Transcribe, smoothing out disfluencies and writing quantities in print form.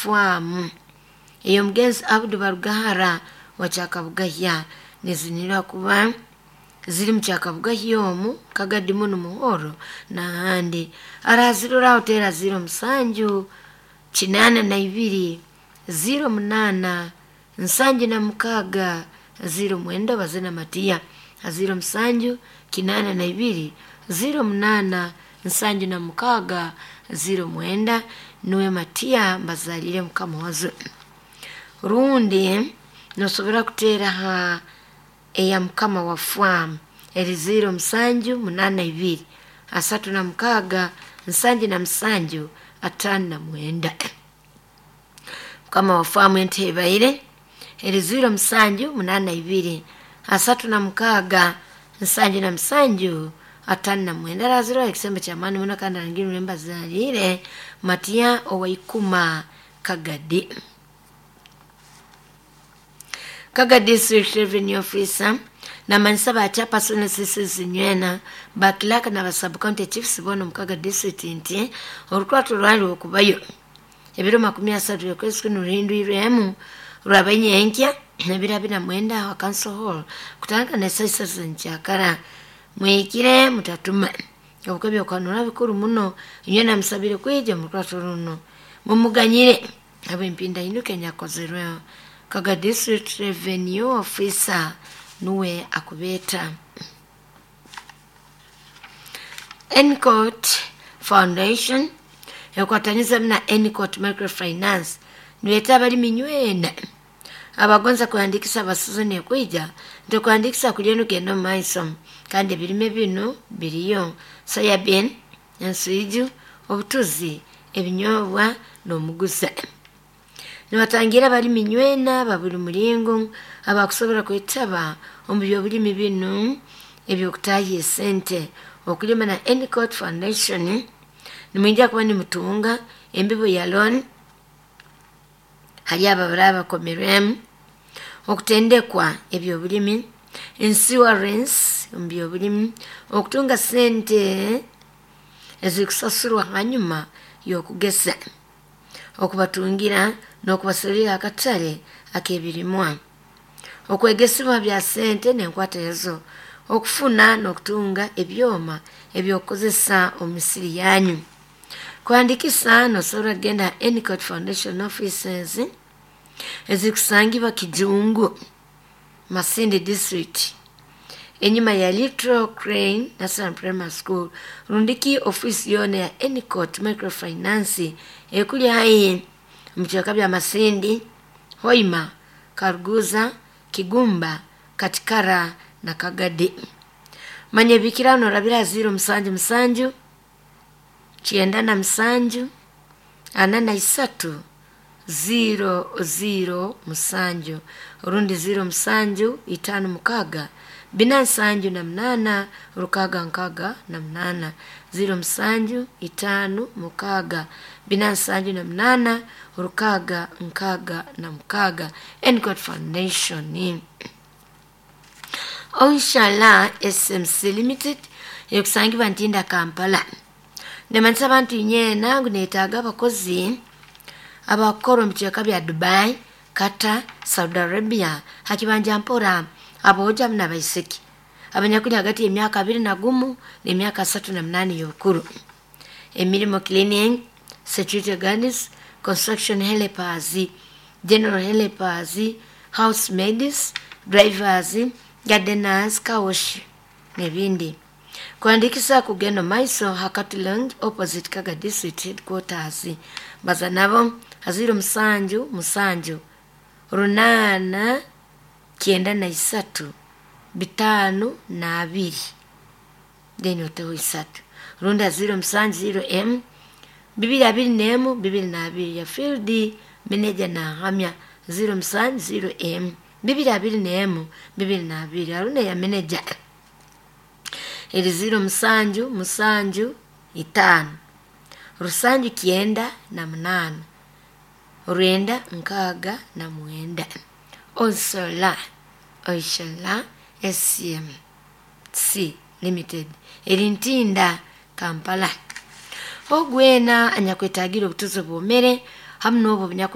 Fwamu ey'omugenzi Abdu Barugahara wa Kyakabugahya nizinirwa kuba ziri mu Kyakabugahya omu Kagadi muno Muhoro n'ahandi. Arazirora hoteri 07 82 08 76 09 Bazina Matiya 07 82 08 76 09 nuwe Matiya mbazalire Mukamuhozo. Rundi nosobora kuteera ha eya mukama wa fwamu eri 07 82 36 77 59. Mukama wa fwamu entebaire eri 07 82 36 77 59. Arazirwa ekisembo kyamaani muno kandi arangirwe mbazalire Matiya owaikuma Kagadi. Kaga District Revenue Officer namanyisa ba chairperson sisi nywena bakilaka na ba county chiefs bono mukaga district nti orukwato rwali okubayo ebiro 30 yokwezi kuno ruhindwirwemu rwabanyenkya ebiro 29 wa council hall kutandika ne saa 3 nkyakara mwikire mutatuma obukebyo kwanura bikuru muno nywena musabire kwija mu rukwato runo mumuganyire abempinda inuke nyakozerweho. Kaga District Revenue Officer nuwe akubeta. Encott Foundation ekwataniza na Encott Microfinance niweta abalimi nywena abagonza kuhandikisa abasuzoni ekwija nti kuhandikisa kulya nugenda mu maiso kandi ebirime bino biriyo soybean, ensuiju, obutuzi, ebinyobwa n'omugusa. Nibatangira abalimi nywena babuli mulingo abakusobora kwetaba omu byobulimi binu ebyokutahya esente. Okulima na Encott Foundation nimwija kuba nimutunga embibo ya loan hali abo abaraba bakomerwemu, okutendekwa ebyobulimi, insurance omu byobulimi, okutunga sente ezikusasurwa hanyuma y'okugesa, okubatungira n'okubasurira akatale ak'ebirimwa, okwegesibwa bya sente n'enkwata ezo, okufuna n'okutunga ebyoma ebyokukozesa omu misiri yanyu. Kuhandikisa nosobora kugenda Encott Foundation offices ezikusangibwa Kijungu, Masindi District, enyuma ya Little Crane National Primary School, rundiki ofisi yona ya Encott Microfinance ekuli haihi mu bicweka bya Masindi, Hoima, Karuguza, Kigumba, Katikara na Kagadi. Manya ebikira norabira 077 97 43 00 7 rundi 07 56 478 668 07 56 478 666. Encott Foundation. Onshala SMC Limited ekusangibwa Ntinda Kampala. Nemanyisa abantu nyena ngu netaaga abakozi abakukora omu bicweka bya Dubai, Qatar, Saudi Arabia, hakibanja mpora aboojo amu n'abaisiki abanyakuli hagati y'emyaka 21 n'emyaka 38 y'obukuru. Emirimo cleaning, security guards, construction helpers, general helpers, housemaids, drivers, gardeners, car wash n'ebindi. Kuandikisa kugenda maiso hakati Lounge opposite Kaga District Headquarters. Baza nabo 07 7 8 93 52 then oteho 3 rundi 07 0 M 221 22 ya field manager na hamya 07 0 M 221 22 arune ya manager eri 07 7 5 rusanju 98 969. Osola Oishala SMC Limited eri Ntinda Kampala. Ogwena anyakwetagira obutuzi bwomere hamu n'obwo.